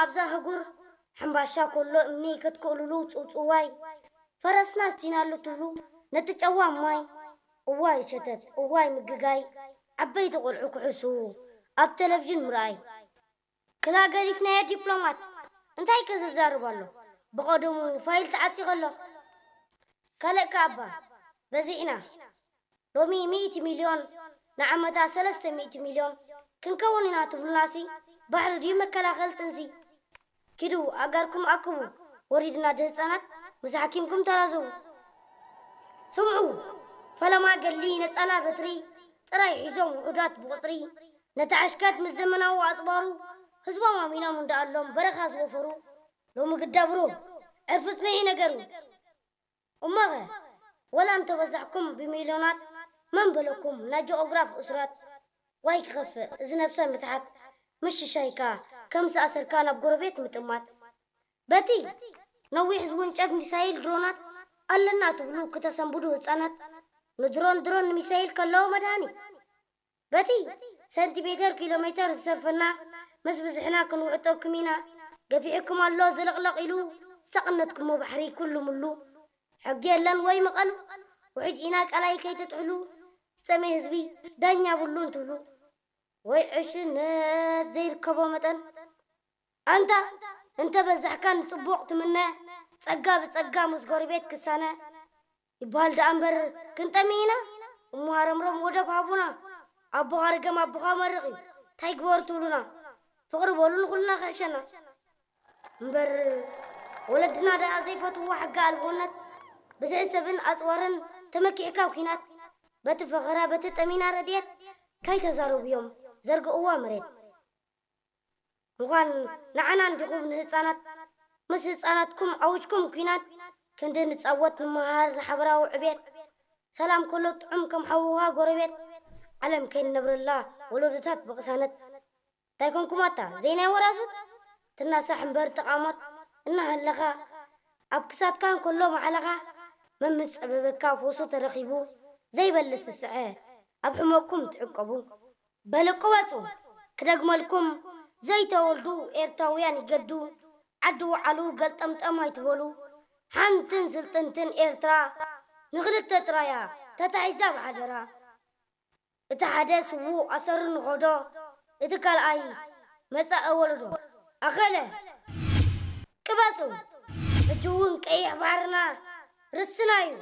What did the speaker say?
ኣብዛ ህጉር ሕምባሻ ኮሎ እምኒ ከትክእሉሉ ጽውጽዋይ፣ ፈረስና ኣስቲናሉ ትብሉ ነቲ ጨዋ ማይ። እዋይ ሸተት፣ እዋይ ምግጋይ፣ ዓበይቲ ቆልዑ ክሕሱ ኣብ ቴሌቪዥን ምርኣይ። ክላ ገዲፍናዮ ዲፕሎማት፣ እንታይ ከ ዘዛርብ ኣሎ? ብቐደሙ ፋይል ተዓጺኸ ኣሎ። ካልእ ከኣ እባ በዚሕና። ሎሚ ሚእቲ ሚልዮን፣ ንዓመታ ሰለስተ ሚእቲ ሚልዮን ክንከውን ኢና ትብሉናሲ፣ ባሕሪ ድዩ መከላኸል ጥንሲ? ኪዱ ኣጋርኩም ኣክቡ፣ ወሪድና ድህፃናት ምስ ሓኪምኩም ተራዘቡ። ስምዑ፣ ፈለማ ገድሊ ነፃላ በትሪ ጥራይ ሒዞም ውሑዳት ብቑፅሪ፣ ነቲ ሓሽካት ምስ ዘመናዊ ኣፅባሩ ህዝቦም ኣሚኖም እንዳኣሎም በረኻ ዝወፈሩ፣ ሎሚ ግዳ ብሩህ ዕርፊ ፅንዒ ነገሩ። እሞኸ ወላ እንተበዛሕኩም ብሚልዮናት፣ መን በለኩም ናይ ጂኦግራፍ እሱራት? ዋይ ክኸፍእ እዚ ነብሰ ምትሓት፣ ምሽሻይካ ከም ዝኣሰርካ ናብ ጎረቤት ምጥማት። በቲ ነዊሕ ዝውንጨፍ ሚሳይል ድሮናት ኣለና ትብሉ ክተሰንብዱ ህፃናት፣ ንድሮን ድሮን ንሚሳይል ከለዎ መድሃኒት። በቲ ሰንቲሜተር ኪሎ ሜተር ዝሰርፈና፣ ምስ ብዝሕና ክንውዕጠኩም ኢና። ገፊሕኩም ኣሎ ዝልቕለቕ ኢሉ ዝተቐነትኩሞ ባሕሪ ኩሉ ምሉ። ሕጊ የለን ወይ መቐሉ፣ ውሕጅ ኢና ቃላይ ከይትጥሕሉ። ዝጠመየ ህዝቢ ዳኛ ብሉን ትብሉ፣ ወይ ዕሽነት ዘይርከቦ መጠን። ኣንታ እንተ በዛሕካ ንጽቡቕ ትምነ፣ ጸጋ ብጸጋ ምስ ጎረቤት ክሳነ ይበሃል ደኣ እምበር ክንጠሚ ኢና። እሞ ሃረምረም ወደብ ሃቡና፣ ኣቦኻ ርገም ኣቦኻ መርቕ እዩ፣ እንታይ ግበር ትብሉና? ፍቕሪ በሉ ንኹልና ክሕሸና። እምበር ወለድና ደኣ ዘይፈትዎ ሕጊ ኣልቦነት፣ ብዝሒ ሰብን ኣጽዋርን ተመኪሕካ ኣብ ኲናት፣ በቲ ፈኸራ በቲ ጠሚና ረድኤት፣ ካይተዛረቡ እዮም ዘርግእዋ መሬት። ምዃን ንዓና እንዲኹም ንህፃናት፣ ምስ ህፃናትኩም ኣውጅኩም ኲናት፣ ክንዲ ንፃወት ንመሃር ንሓበራዊ ዕቤት። ሰላም ከሎ ጥዑም ከም ሓውኻ ጎረቤት፣ ዓለም ከይንነብረላ ወለዶታት ብቕሳነት። እንታይ ኮንኩም ኣታ ዘይናይ ወራዙት? ትናሳሕ እምበር ተቓሞት እናሃለኻ፣ ኣብ ክሳድካ እንከሎ ማዕለኻ፣ መምስ ጸበበካ ፈውሱ ተረኺቡ ዘይበልስ ዝስዐ፣ ኣብ ሕመቕኩም ትዕቀቡ። በል ቅበጹ ክደግመልኩም፣ ዘይተወልዱ ኤርትራውያን ይገዱ፣ ዓዲ ወዓሉ ገልጠምጠም ኣይትበሉ። ሓንትን ስልጥንትን ኤርትራ ንኽልተ ጥራያ ተታሒዛ ብሓደራ። እቲ ሓደ ስዉእ ኣሰሩ ንኸዶ፣ እቲ ካልኣይ መጻኢ ወለዶ ኣኸለ። ቅበጹ፣ ሕጂ እውን ቀይሕ ባሕርና ርስና እዩ።